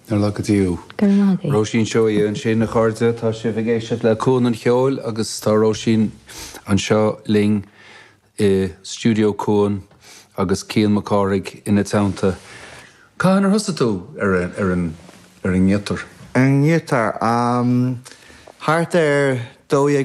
Ar lá go dtí. Go raibh maith agaibh. Róisín Seoighe ansin, a chairde. Tá sibh ag éisteacht le Cuan an Cheoil agus tá Róisín anseo linn i stiúideo Cuan agus Cian Mac Cárthaigh ina teannta. Cathain ar thosaigh tú ar an ar an ngiotár? Ar an ngiotár? Thart ar 12.